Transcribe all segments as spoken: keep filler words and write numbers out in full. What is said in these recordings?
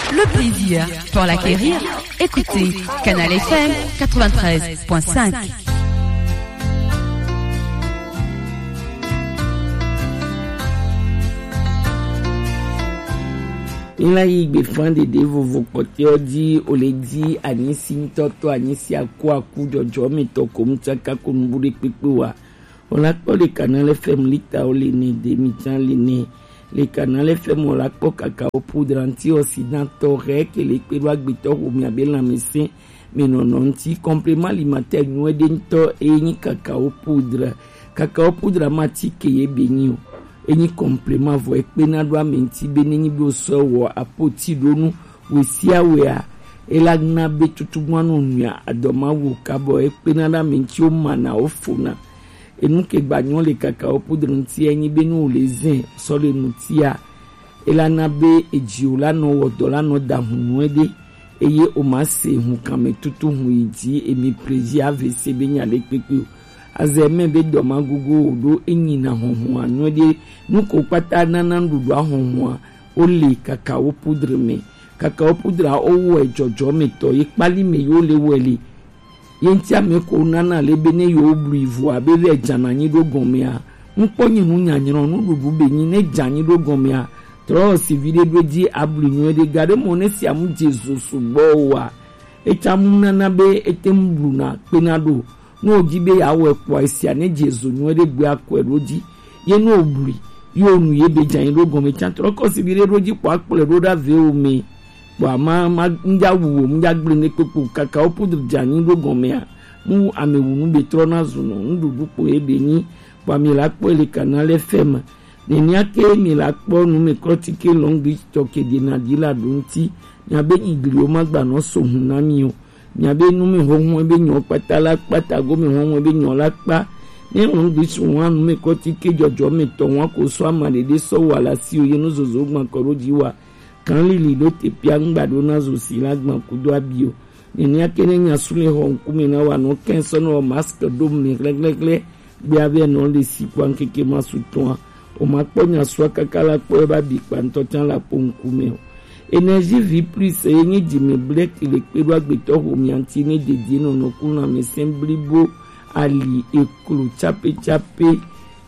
Le plaisir pour l'acquérir, écoutez Canal F M quatre-vingt-treize point cinq. Míla yi gbefa ɖeɖe vovo kpɔtɔewo ji, o le ji anyisi ŋutɔtɔ, anyisi aku aku jɔjɔ me tɔ ko mu tsaka ko nubu ɖe kpekpe wa. O la kpɔ le Canal F M lita o le ne de mi tsa le ne. Le Canal F M o la kpɔ cacao poudre antioxydant tɔ hɛ ke le kpe ɖo agbetɔ xo mi abe lãmesẽ me nɔnɔ ŋuti. Complément alimentaire nyuie ɖe ŋutɔ e nyi cacao poudre. Cacao poudre ma ti ke ye be nyi o. E nyi complément vɔ e kpena ɖo ame ŋuti be ne nyi be o sɔ wɔ apoti ɖo nu wesiawea, e la na be tutugbanu nua adɔma wo kabɔ e kpena ɖo ame ŋuti o mana o fona. Enu ke gba nyɔ le cacao poudre ŋuti e nyi be nu o le zɛ sɔ le ŋutia, e la na be edziwo la nɔ wɔ dɔ la nɔ da hun nyuie ɖe, eye o ma se hun kan me tutu hun yi ji emi plaisir A V C be nya ɖe kpekpe o. Azɛ mɛ be dɔ ma gogo o ɖo e nyi na hɔnhɔn a nyuie ɖe. Nu ko kpata nana nuɖuɖu a hɔnhɔn a o le cacao poudre me. Cacao poudre a o wɔ e jɔjɔ me tɔ ye kpali me yo le wɔ e le. Ye ŋuti ame ko nana le be ne yewo blui vɔa be vɛ dzana anyi ɖo gɔmea, ŋkpɔ nyi nu nyanyra nuɖuɖu be nyi ne dza anyi ɖo gɔmea, trɔ si viɖe ɖo edzi ablui nyuie ɖe gaɖe mɔ ne sia mu dze zo sugbɔ oa, etsa mu nana be ete ŋu bluna kpena ɖo. Ne wòdi be yeawɔe kpɔa, esia ne dze zo nyuie ɖe gbea kɔe ɖo dzi. Ye ne wòblui, ye wònu ye be dza anyi ɖo gɔme tsa trɔ kɔ si viɖe ɖo dzi kpɔ akplɔe ɖo ɖa ve wo me. Kpɔa ma ma ŋdza wu wo ŋdza gblẽ ne kpekpe o. Cacao poudre dze anyi ɖo gɔmea, mu ame wu nu be trɔ na zu nɔ nuɖuɖu kpo ye be nyi. Kpɔa mi la kpɔ le Canal F M. Nenea ke mi la kpɔ nu me klɔ ti ke lɔngbi tɔ ke de na di la ɖo ŋuti. Nya be igliwo ma gba nɔ so hun na mi o. Nya be nu me hohun be nyɔ kpata la kpata go me hohun be nyɔ la kpa. Ne lɔngbi su wa nu me klɔ ti ke jɔjɔ me tɔ wa ko so ama ɖeɖe sɔ wa la si o ye nu zozo gban kɔ ɖo dzi wa. Kan lili ɖo te pia ŋgba ɖo na zo si la gban kudo abi o. Nenea ke ne nya su le xɔ ŋkume na wa nɔ kɛn sɔ nɔ mask ɖo me hlɛhlɛhlɛ. Gbea be nɔ le si kpɔ ŋkeke ma su tɔa. O ma kpɔ nya sua kaka la kpɔ eba bi kpa ŋutɔ tsa la kpɔ ŋkume o. Énergie vie plus ye nye dzime blɛki le kpe ɖo agbetɔ xo mia ŋuti ne dedie nɔnɔ ku lãmesẽ blibo ali eklo tsape tsape.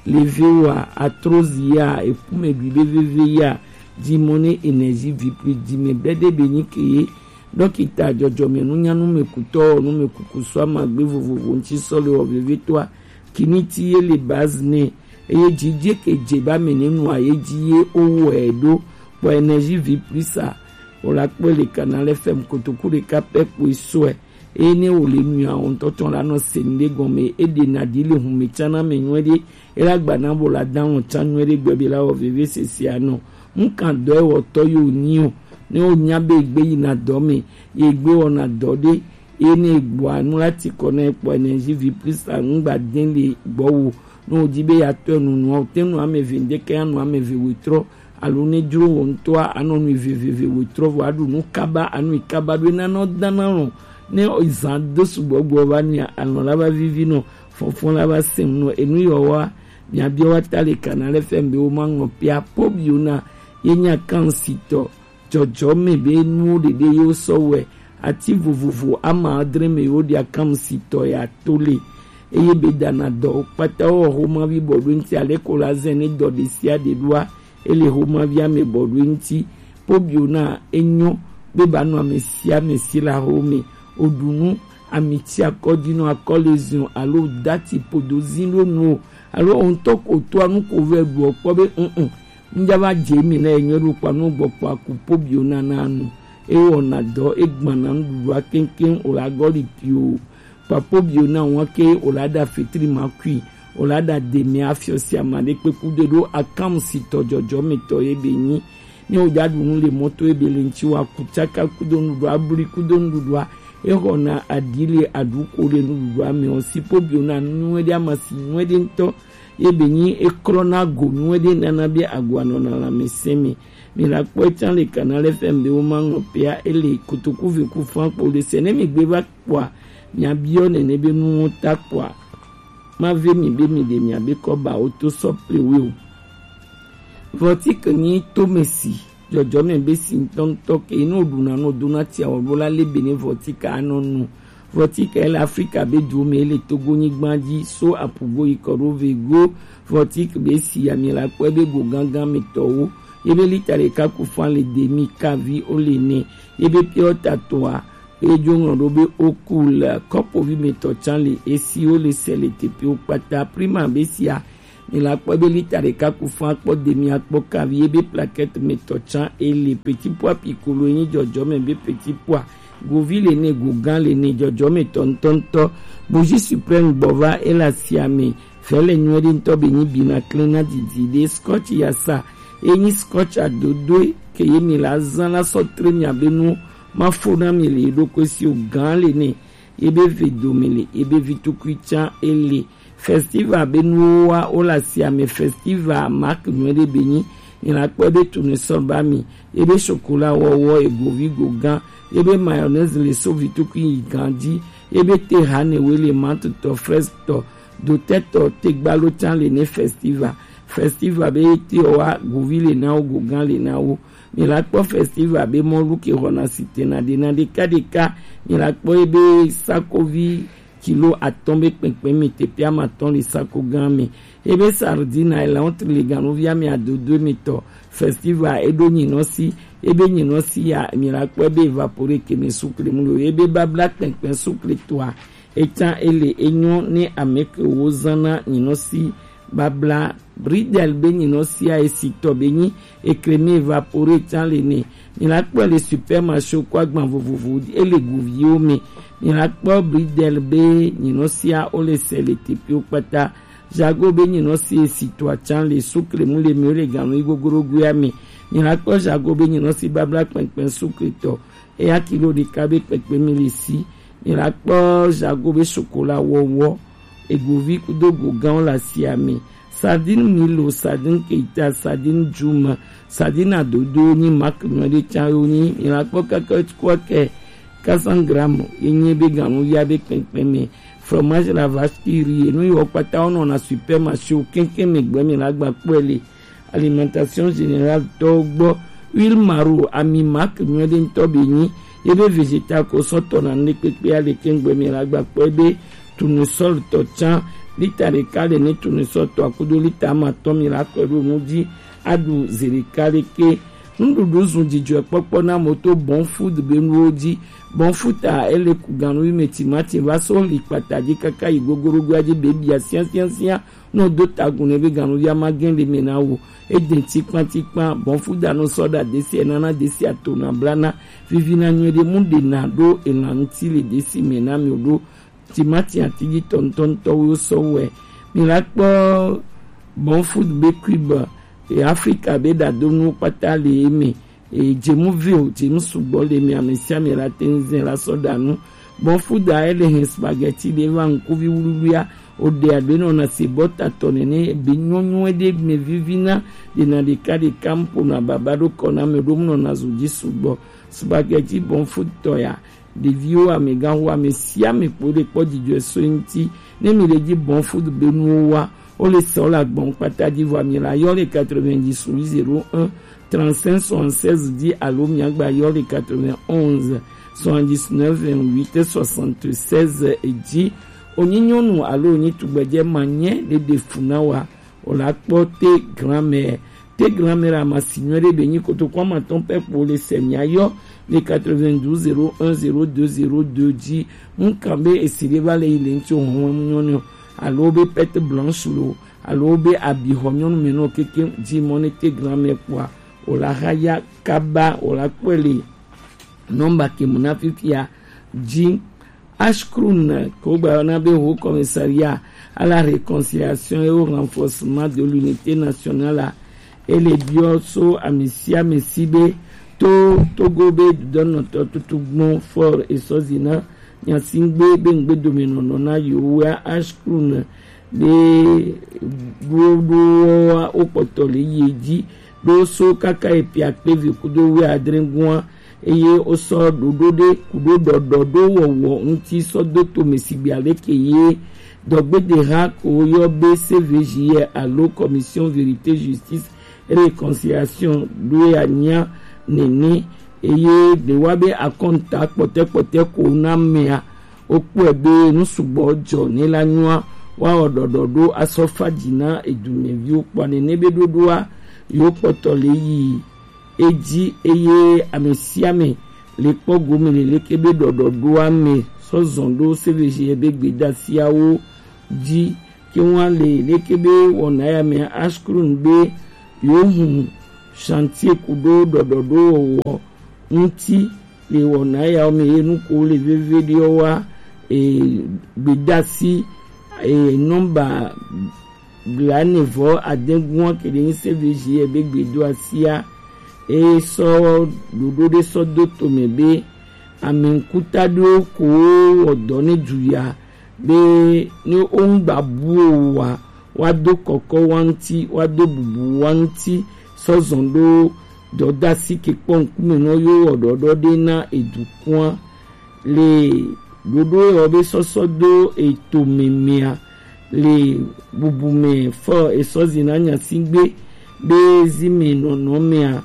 Levewa, arthrose ya, ekume ɖui be veve ya, dzimɔ ne énergie vie plus dzime blɛɖe be nyi ke ye. Dɔkita jɔjɔme nunyanu me kutɔ nu me kuku sɔ amagbe vovovo ŋuti sɔ le wɔ vevetɔa. Kiniti ye le base nɛ eye dzidze ke dze ba me ne nua ye dzi ye o wɔ ɛ ɖo. Kpɔ énergie vie plus a o la kpɔe le Canal F M kotoku ɖeka pɛ kpoe sɔe. Eye ne wòle nui a, wò ŋutɔ tsɔ la nɔ se nu ɖe gɔme, eɖe na ɖi le hume tsã na ame nyuie ɖe, ela gba na bo la da wɔn tsã nyuie ɖe gbe be la wɔ veve sese anɔ. Ŋkan dɔ ewɔtɔ yo nyi o. Ne wonya be egbe yina dɔ me, ye gbe wɔna dɔ ɖe, ye ne egbɔa nu la ti kɔ na ekpɔ énergie vie plus a ŋgba den le gbɔ wo. Ne wòdi be ya tɔ enu nua, wote nu ame eve ŋdeke anu ame eve wetrɔ, alo ne dzro wò ŋutɔa, anɔ nu veveve wòtrɔ vɔ aɖu nu kaba, anu yi kaba ɖo ena nɔ dana lɔ. Ne zã do sugbɔ gbɔ va nua, alɔ la va vivi nɔ, fɔfɔ la va sɛm nɔ, enu yɔ wa, miabiɔ wa ta le Canal F M be wo ma ŋlɔ pia po biona ye nya kan si tɔ. Jɔjɔ me be nuwo ɖeɖe ye wo sɔ wɛ, ati vovovo ama adre me ye wo ɖia kan si tɔ ya to le. Eye be dana dɔ kpata wo xoma vi bɔ ɖo ŋuti ale ko la zɛ ne dɔ ɖe sia ɖe ɖoa. Ele xomavia me bɔ ɖo eŋuti. Pobio na enyo be ba nɔ ame sia ame si la xo me. Oɖu nu amitsi akɔdzinɔ akɔlezion alo dati podo zin ɖo nu o alo o ŋutɔ ko to anu ko vɛ ɖu o kpɔ be un un ŋdza va dze mi na enyo ɖo kpa nu gbɔ kpa ku pobio na na nu. Ewɔna dɔ egbana nuɖuɖua keŋkeŋ o la gɔli pio. Papo bio na wa ke o la da fetri ma kui, o la da de me afiɔ si ama ɖe kpe kudo ɖo akam si tɔ jɔjɔ me tɔ ye be nyi. Ne o ja ɖu nu le mɔto ye be le ŋtsi wa kutsaka kudo nuɖuɖua, abli kudo nuɖuɖua, e xɔna aɖi le aɖu ko le nuɖuɖua me o. Si po bio na nu ɖe ama si nu ɖe ŋtɔ ye be nyi e klɔ na go nu ɖe nana be agoa nɔna lãmesẽ me. Mi la kpɔ tsã le Canal F M be wo ma ŋlɔ pea ele kotoku ve ku fan kpo le se ne mi gbe va kpɔa, miabiɔ nene be nuwo ta kpɔa, mave mi be mi ɖe miabe kɔbawo to sɔ plewe o. Vɔtike nyi tomesi jɔjɔmɛ be si ŋutɔŋutɔ ke, enu ɖuna nu dona tia wɔ ɖo la le bene vɔtika anɔ nu. Vɔtika ele Afrika be duwo me, ele Togo nyigba dzi, so apugo yi kɔ ɖo vego. Vɔtik be si ami la kpɔe be go gangan me tɔwo, ye be lita ɖeka ku fan le demi kavi o le ne, ye be piɔ ta toa, ye dzo ŋlɔ ɖo be oku le kɔpovi me tɔ tsan le esi wo le sɛ le teƒewo kpata. Prima be sia, mi la kpɔ be lita ɖeka ku fan kpɔ demi akpɔ kavi, ye be plakɛt me tɔ tsan ele. Petit pois piccolo ye nyi jɔjɔmɛ be petit pois, govi le ne, gogan le ne, jɔjɔmɛ tɔ ŋutɔŋutɔ. Bougie suprême gbɔ va ele asia me. Vɛ le nyuie ɖe ŋutɔ be nyi bina klena didi ɖe. Scotch yasa, ye nyi scotch adodoe ke ye mi la zan la sɔ tre mi abe nu ma fo na mi le ye ɖokui si o. Gan le ne, ye be ve dome le, ye be vi tukui tsan ele. Festival be nuwo wa wo le asia me. Festival mark nyuie ɖe be nyi, mi la kpɔ be tournesol ba mi, ye be chocolat wɔwɔ, egovi gogan, ye be mayonnaise le so vi tukui yi gan dzi, ye be te hane we le menthe tɔ, fraise tɔ, dotɛ tɔ, tegbalo tsan le ne. Festival, festival be te wa, govi le na wo, gogan le na wo. Mi la kpɔ festival be mɔlu ke xɔna sitena ɖe na ɖeka ɖeka. Mi la kpɔ ye be sakovi kilo atɔ̃ be kpɛnkpɛn mi, teƒe ame atɔ̃ le sako gã me. Ye be sardine, elã wotri le ganuvia mi adodo mi tɔ. Festival eɖo nyinɔ si, ye be nyinɔ si ya, mi la kpɔe be evapore ke me sukle mu lo. Ye be babla kpɛnkpɛn sukle toa, etsan ele enyɔ ne ame ke wo zan na nyinɔ si babla. Bridel be nyinɔ sia esi tɔ be nyi, ekreme evapore tsan le ne. Mi la kpɔe le supermarché ko agban vovovo, ele guviwo me. Mi la kpɔ bridel be nyinɔ sia wo le sɛ le teƒewo kpata. Jago be nyinɔ si esi tɔ atsan le sukle mu le mi wo le ganu yi gogorogoa me. Mi la kpɔ jago be nyinɔ si babla kpɛnkpɛn sukle tɔ, eya kilo ɖeka be kpɛkpɛ mi le si. Mi la kpɔ jago be chocolat wɔwɔ, egovi kudo gogãwo le asia me. Sardine milo, sardine keita, sardine djuma, sardine adodo nyi mark nyuie ɖe tsan yo nyi. Mi la kpɔ kaka kua ke quatre cents grammes ye nyi be ganuvia be kpɛnkpɛn me. Fromage la vache qui rit, enu yiwo kpata wo nɔna supermarché wo keŋkeŋ me gbɔ, mi la gba kpɔe le Alimentation Générale tɔwo gbɔ. Huile maro, ami mark nyuie ɖe ŋutɔ be nyi, ye be vegetal ko sɔ tɔna nu ɖe kpekpe ale keŋ gbɔ, mi la gba kpɔe be tournesol tɔ tsan, lita ɖeka le ne tournesol tɔ akudo lita ame atɔ̃, mi la kɔe ɖo nu dzi aɖu zi ɖeka ɖeke. Nuɖuɖu zun dzidzɔkpɔkpɔ na mo to Bon Food be nuwo dzi. Bon Food a ele ku ganu yi me timati va so li kpata dzi kaka yi gogorogoa dzi be bia siasiasia. Ne wòdo ta agu nɛ be ganuvia magẽ le eme na wò. Edẽ tikpatikpa, Bon Food anɔ sɔ ɖa desi, enana desi atona blana, vivina nyuie ɖe, mu ɖena ɖo elã ŋuti le desi me na mi ɖo. Timati atidzi tɔ ŋutɔŋutɔwo sɔ wɔe. Mi la kpɔ Bon Food be cube, e Afrika be ɖadonuwo kpata le eme. E, dzemu vio, dzemu sugbɔ le mi, ame sia ame la te ŋu zɛ la sɔ ɖa nu. Bon Food a ele hɛn spaghetti ɖe va ŋkuvi wluwlua, o ɖe aɖe nɔna se bɔta tɔ nene, be nyɔnyɔ ɖe me vivina, ɖena ɖeka ɖeka ŋu ƒona baba ɖo kɔ na me ɖo ŋu nɔna zu dzi sugbɔ. Spaghetti Bon Food tɔ ya, ɖeviwo, amegãxo, ame sia ame kpo ɖe kpɔ dzidzɔe so eŋuti. Ne mi le dzi Bon Food be nuwo wa, wo le sɔ le agbɔn kpata dzi vɔ, mi la yɔ le quatre-vingt-dix zéro un trente-cinq soixante-seize dzi alo mi agba yɔ le quatre-vingt-onze soixante-dix-neuf vingt-huit soixante-seize dzi. Wonyi nyɔnu alo wonyi tugbedze ma nye ɖe ɖe fu na wa, o la kpɔ te grand-mère. Te grand-mère amasi nyuie ɖe be nyi kotoku amatɔ̃ pɛ kpo le se mi ayɔ le quatre-vingt-douze zéro un zéro deux zéro deux dzi. Ŋkan be esi ɖe va le yi le ŋuti o hɔn nyɔnu alo be perte blanche lo alo be abi xɔ nyɔnu me nɔ keke dzi mɔ ne te grand-mère kpɔa, o la xa ya kaba, o la kpɔe le nɔmba ke mu na fifia dzi. Ashkrun, ke wogba yɔna be Haut Commissariat à la Réconciliation et au Renforcement de l'Unité Nationale a, ele biɔ so ame sia ame si be to Togo be dudɔnɔtɔ tutu gbɔn fort esɔ zina nyasingbe be ŋgbedomenɔnɔ na yewoa. Ashkrun be ɖoɖowoa wokpɔtɔ le yi dzi ɖo so kaka epiakpe ve kudo wuiadre gua, eye wosɔ ɖoɖo ɖe kuɖo ɖɔɖɔ ɖo wɔwɔ ŋuti sɔ do tome sigbe aleke ye dɔgbedeha ko woyɔ be C V J R alo Commission Vérité Justice réconciliation ɖo ya nya nene, eye ɖe wa be akɔnta kpɔtɛkpɔtɛ ko na mea, wokpɔe be nu sugbɔ jɔ ne la nyɔa, woawɔ ɖɔɖɔ ɖo asɔ fa dzi na edumɛviwo kpɔa nene be ɖoɖoa yewo kpɔtɔ le yi edzi, eye ame sia ame le kpɔ gome le leke be ɖɔɖɔɖoa me sɔ zɔn ɖo C V G be gbedasiawo dzi. Ke ŋua le leke be wɔna ya me Ashkrun be yewo hun chantier ku ɖo ɖɔɖɔɖo wɔwɔ ŋuti le wɔna yawo me ye nuko le veve ɖewo wa e, gbedasi e, nɔmba blanevɔ adɛgua ke ɖe nyi C V G be gbedo asia e sɔ ɖoɖo ɖe sɔ do tome be ame ŋkuta ɖewo ko wɔ dɔ ne du ya be ne wo ŋgba bu o wa, wa do kɔkɔ wa ŋuti, wa do bubu wa ŋuti sɔ zɔn ɖo dɔdasi ke kpɔ ŋkume nɔ yo wɔ ɖɔɖɔ ɖe na edukua. Le ɖoɖo yɔ be sɔsɔ do eto memea le bubu me fɔ esɔ zina nyasigbe be zi me nɔnɔ mea,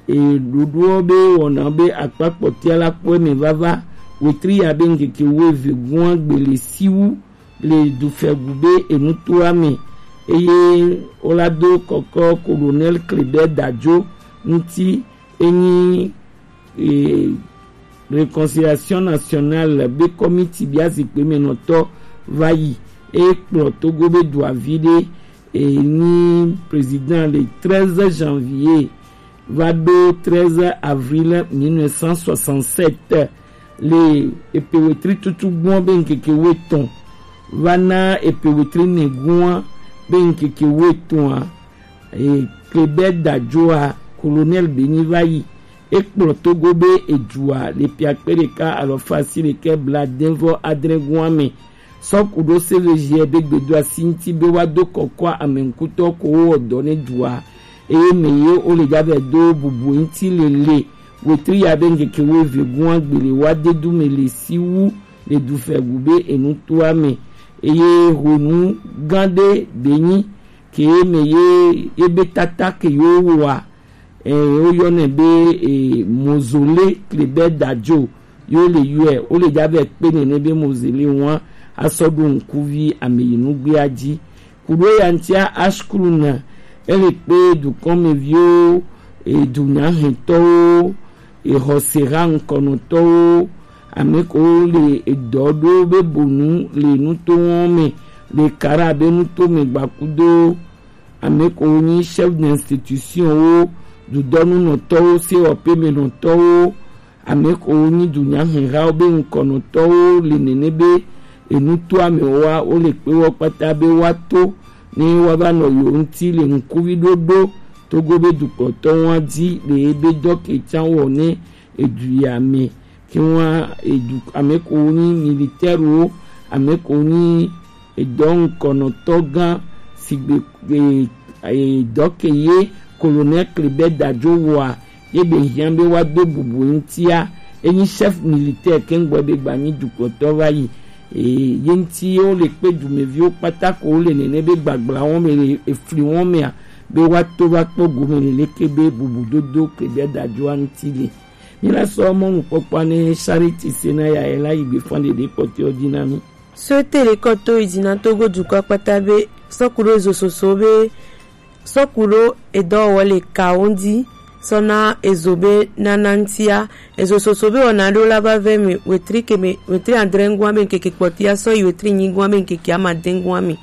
e ɖoɖoɔ be wɔna be akpa kpɔtia la kpɔe me vava wetri ya be ŋkeke wo eve gua gbele siwu le dufɛgu be enutoa me, eye wola do kɔkɔ Colonel Kleber Dadzo ŋuti, enyi e, Réconciliation Nationale be kɔmiti bia zikpe me nɔtɔ va yi, e kplɔ Togo be duavi ɖe e nyi président le treize janvier va ɖo treize avril mille neuf cent soixante-sept le epe wetri tutu gbɔn be ŋkeke wetɔn va na epe wetri nɛgua be ŋkeke wetɔn a, e, Kleber Dadzo a, Colonel be nyi va yi. E kplɔ Togo be edua le piakpe ɖeka alɔfa asi ɖekɛ bladɛnvɔ adrɛgua me sɔ ku ɖo C V G be gbedo asi ŋuti be wa do kɔkɔ ame ŋkutɔ ko wo wɔ dɔ ne dua, eye me ye wo le javɛ do bubu ŋuti lele wetri ya be ŋkeke wo eve gua gbele wa de du me le si wu le dufɛgu be enutoa me, eye honu gã ɖe be nyi ke me ye ebe tata ke yo wa, e, woyɔnɛ be e, mozole Kleber Dadzo yo le yɔɛ, wo le javɛ kpe nene be mozole wa asɔ ɖo ŋkuvi ameyinu gbea dzi. Kuɖo ya ŋutia Ashkrun ele kpe dukɔmeviwo, e, dunyahɛntɔwo, e, xɔseha ŋkɔnɔtɔwo, ame ko le edɔ ɖo be bonu le nuto wɔn me le kara be nuto me gbakudo, ame ko nyi chef d'institution wo, dudɔnunɔtɔwo, sewɔƒemenɔtɔwo, ame ko nyi dunyahehawo be ŋkɔnɔtɔwo le nene be enutoa me wa wo le kpe wɔ kpata be wa to ne wa va nɔ yo ŋuti le ŋkuvi ɖoɖo Togo be dukɔtɔ wa dzi le ebe dɔ ke tsa wɔ ne edu ya me. Ke wa edu ame ko nyi militaire wo, ame ko nyi edɔ ŋkɔnɔtɔ gã sigbe e, e, dɔ ke ye Colonel Kleber Dadzo wɔa, ye be hiã be wa do bubu ŋutia, enyi chef militaire ke ŋgbɔ be gba nyi dukɔtɔ va yi. E, ye ŋuti ye wo le kpe dumeviwo kpata ko wo le nene be gbagbla wɔn me le efli wɔn mea, be wa to va kpɔ gome le leke be bubu dodo Kleber Dadzoa ŋuti le. Mi la sɔ mɔnukpɔkpɔa ne Charity Sena ya e la yi gbe fan ɖeɖe kpɔtɔewo dzi na mi. Sɔte le kɔ to yi dzi na Togo dukɔ kpata be sɔku ɖo ezo soso be sɔku ɖo edɔwɔwɔ le kawo ŋdi sɔ na ezo be nana ŋtia, ezo soso be wɔna ɖo la va vɛ me wetri ke me wetri adre ŋgɔa be ŋkeke kpɔtia sɔ yi wetri nyi ŋgɔa be ŋkeke amade ŋgɔa me.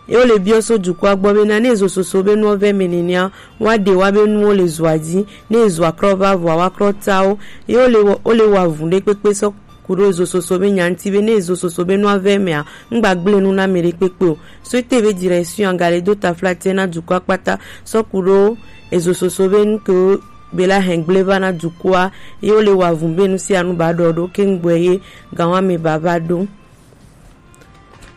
Ye wo le biɔ so dukɔa gbɔ be na ne ezo soso be nuwo vɛ me nenea, wa ɖe wa be nuwo le zoa dzi, ne ezoa krɔ va vɔa wa krɔ ta wo. Ye wo le wɔ- wo le wa vu ɖe kpekpe sɔ ku ɖo ezo soso be nya ŋuti be ne ezo soso be nua vɛ mea, ŋgba gblẽ nu na ame ɖe kpekpe o. Sɔte be direction agale do taflatɛ na dukɔa kpata sɔ ku ɖo ezo soso be nu ke wo be la hɛn gblẽ va na dukɔa, ye wo le wa vu be nu sia nu ba ɖɔ ɖo ke ŋgbɔe ye gan wa me ba va ɖo.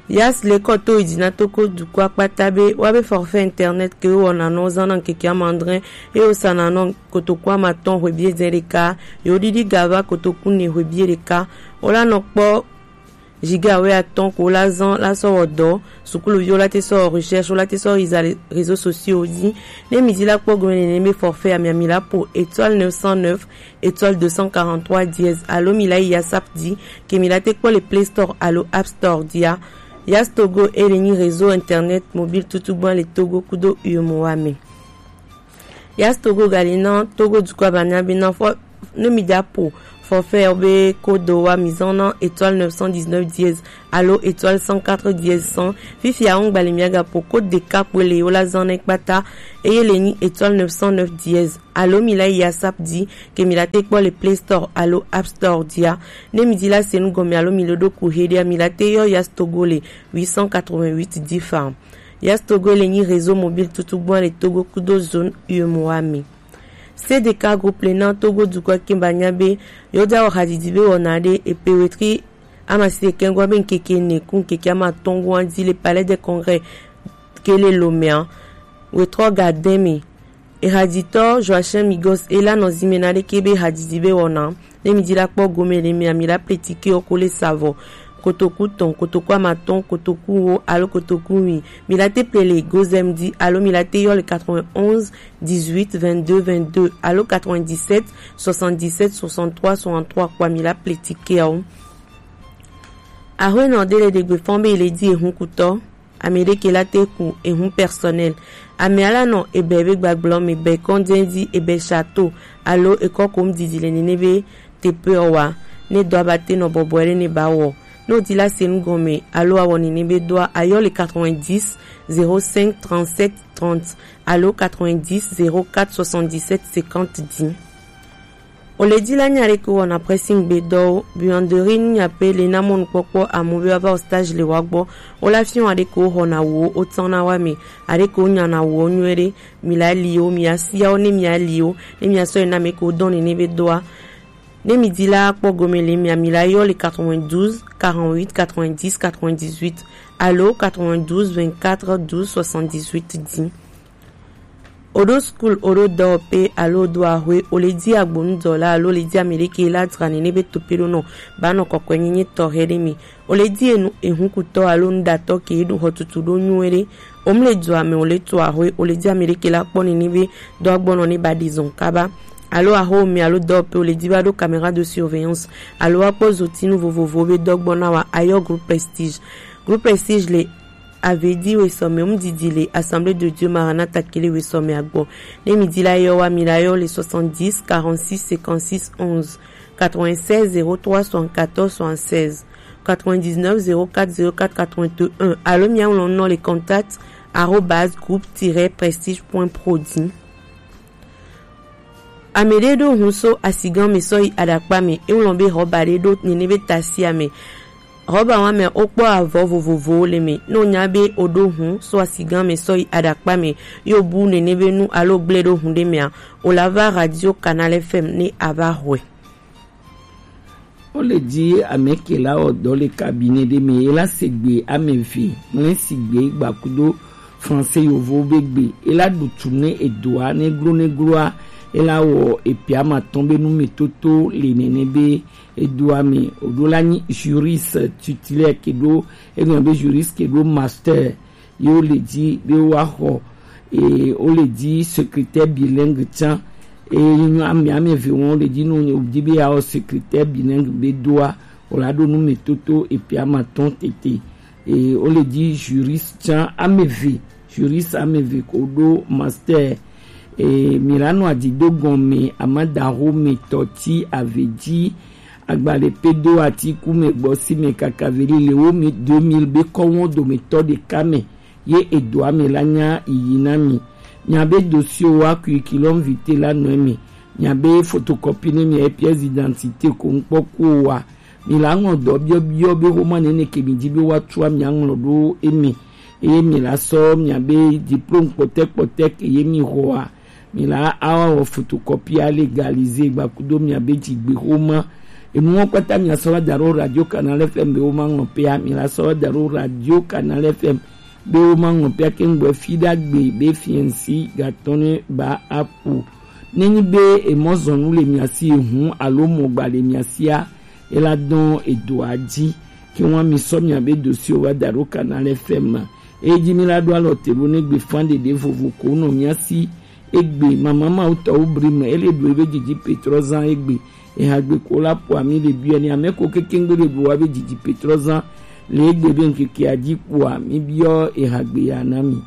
Yas le kɔ to yi dzi na Togo dukɔa kpata be wa be forfait internet ke wo wɔna nɔ zan na ŋkeke amandre ye wo sana nɔ kotoku amatɔn hwe biedzɛ ɖeka, ye wo ɖiɖi ga va kotoku ne hwe bie ɖeka. Wo la nɔ kpɔ Giga wɛ atɔn ko la zan la sɔ wɔ dɔ. Sukuluviwo la te sɔ recherche, wo la te sɔ iza les réseaux sociaux di. Ne mi di la kpɔ gome nene be forfait ami ami la po étoile neuf cent neuf étoile deux cent quarante-trois dièse alo mi la yi yasap di ke mi la te kpɔ le Play Store alo App Store dia. Yas Togo e le nyi réseau internet mobile tutu gban le Togo kudo U E M O A me. Yas Togo gali na Togo dukɔ abanya be na fɔ ne mi da po forfait be kodo wa mi zan na étoile neuf cent dix-neuf dièse alo étoile cent quatre dièse cent. Fifi a ŋgbali mi aga po code de cap wele yo la zan na kpata eye le nyi étoile neuf cent neuf dièse alo mi la yi yasap di ke mi la te kpɔ le Play Store alo App Store dia. Ne mi di la senu gɔme alo mi lo do ku he dia mi la te yɔ Yas Togo le huit cent quatre-vingt-huit dix fa. Yas Togo le nyi réseau mobile tutu gban le Togo kudo zone U E M O A me. C D K groupe le na Togo dukɔ kimba nya be yo da wɔ hadidi be wɔna de epe wetri amasi de kengwa be nkeke ne ku nkeke ama tongo andi le Palais des Congrès kele lomea. Wetrɔ ga demi. Ehadzitɔ Joachim Migos ela nɔ zime na ɖeke be hadzidzi be wɔna. Ne mi di la kpɔ gome le mi ami la ple tike oko le savɔ. Kotoku tɔn, kotoku amatɔn, kotoku wo alo kotoku wi. Mi la te ple le gozem di alo mi la te yɔ le quatre-vingt-onze dix-huit vingt-deux vingt-deux alo quatre-vingt-dix-sept soixante-dix-sept soixante-trois soixante-trois kpɔ mi la ple tike awo. Ahwenɔ de le ɖegbe fɔn be le di ehun kutɔ. Ame ɖeke la te ku ehun personnel. Ame ala nɔ ebe be gbagblɔ me be kɔndɛn di ebe château alo ekɔ kom didi le nene be teƒe wa. Ne dɔ aba te nɔ bɔbɔe ɖe ne ba wɔ. Ne o di la se nu gɔme alo awɔ nene be dɔa ayɔ le quatre-vingt-dix zéro cinq trente-sept trente alo quatre-vingt-dix zéro quatre soixante-dix-sept cinquante di. O le di la nya ɖeke wɔna pressing gbe dɔwo, buanderie nu nya pe le na mɔnukpɔkpɔ amu be wa va o stage le wa gbɔ. O la fiɔ aɖeke wo xɔna wo, o tɔna wa me, aɖeke wo nyana wo nyuie ɖe, mi la li wo, mi asia wo, ne mi ali wo, ne mi asɔ yi na me ke wo dɔn nene be dɔa. Ne mi di la kpɔ gome le mi ami la yɔ le quatre-vingt-douze quarante-huit quatre-vingt-dix quatre-vingt-dix-huit alo quatre-vingt-douze vingt-quatre douze soixante-dix-huit di. O ɖo school, o ɖo dɔwɔƒe alo o ɖo ahwe, o le di agbonudɔla alo o le di ame ɖeke la dzra nene be tope ɖo nɔ ba nɔ kɔkɔe nyenye tɔxɛ ɖe me. O le di enu ehunkutɔ alo nuɖatɔ ke ɖo xɔtutu ɖo nyuie ɖe. O mu le dua me, o le to ahwe, o le di ame ɖeke la kpɔ nene be dɔ agbɔnɔ ne ba ɖi zɔn kaba. Alo axo me alo dɔwɔƒe o le di ba ɖo caméra de surveillance alo wa kpɔ zotinu vovovo be dɔ gbɔna wa ayɔ groupe Prestige. Groupe Prestige le Avedi wesɔmɛ, o mu didi le Assemblée de Dieu Maranatha kele wesɔmɛ agbɔ. Ne mi di la yɔ wa mi la yɔ le soixante-dix quarante-six cinquante-six onze, quatre-vingt-seize zéro trois soixante-quatorze soixante-seize, quatre-vingt-dix-neuf zéro quatre zéro quatre quatre-vingt-un alo mi aŋlɔ nɔ le contact arobase groupe tiret prestige point pro di. Ame ɖe ɖo hun so asigan me sɔ yi aɖakpa me. Eŋlɔ be xɔba ɖe ɖo nene be tasi ame. Xɔba wa me wokpɔ avɔ vovovowo le me. Ne wonya be o ɖo hun so asigan me sɔ yi aɖakpa me, yo bu nene be nu alo gble ɖo hun ɖe mea, o la va Radio Canal F M ne a va xɔe. Wo le di ame ke la wɔ dɔ le cabinet ɖe me, e la se gbe ame eve, ŋlɛ si gbe gbakudo français yovo be gbe, e la ɖu tu ne edoa, ne glo ne gloa, e la wɔ epe amatɔn be nu me toto le nene be edoa me, o ɖo la nyi juriste titulaire ke ɖo, e gblɔ be juriste ke ɖo master. Ye wo le di be wa xɔ, e, wo le di secrétaire bilingue tsan. E, nyɔ ame, ame eve wɔn wo le di nu, wo di be ya wɔ secrétaire bilingue be doa, o la ɖo nu me toto epe amatɔn tete. E, wo le di juriste tsan ame eve, juriste ame eve ko ɖo master. E, mi la nɔ adi do gɔme, amadaho me tɔ ti ave di, agbalẽ pe do ati ku me gbɔ si me kaka veli le wo mi deux mille be kɔwɔn dometɔ ɖeka me. Ye edoa me la nya yiyi na mi. Mia be dossier wa curriculum vitae la nɔ eme. Mia be photocopie ne mia pièce d'identité ko ŋkpɔ ko wa. Mi la ŋlɔ dɔ biɔ biɔ be xoma nene ke mi di be wa tua mia ŋlɔ ɖo eme. Eye mi la sɔ mia be diplôme kpɔtɛ kpɔtɛ ke ye mi xɔa. Mi la awa wɔ photocopie a légaliser gbakudo mia be dzigbe xoma. Enuwo kpata mia sɔ wa da ɖo Radio Canal F M be wo ma ŋlɔ pea. Mi la sɔ wa da ɖo Radio Canal F M be wo ma ŋlɔ pea ke ŋgbɔ fi ɖagbe be fiɛnsi gatɔ ne ba apo. Nenyi be emɔzɔnu le mia si ehun alo mɔgba le mia sia, e la dɔn edoa dzi. Ke wan mi sɔ mia be dossier wa da ɖo Canal F M. Eji mi la ɖo alɔ te ɖo ne gbe fan ɖeɖe vovo ko nɔ mia si egbe mama ma wutɔ wo bri me ele ɖo ebe didi petrɔ zan egbe. Eha gbe ko la po ami le biɔ ni ame ko keke ŋgbe le bo wa be didi petrɔ zan le egbe be ŋkeke aji po ami biɔ eha gbe ya na mi.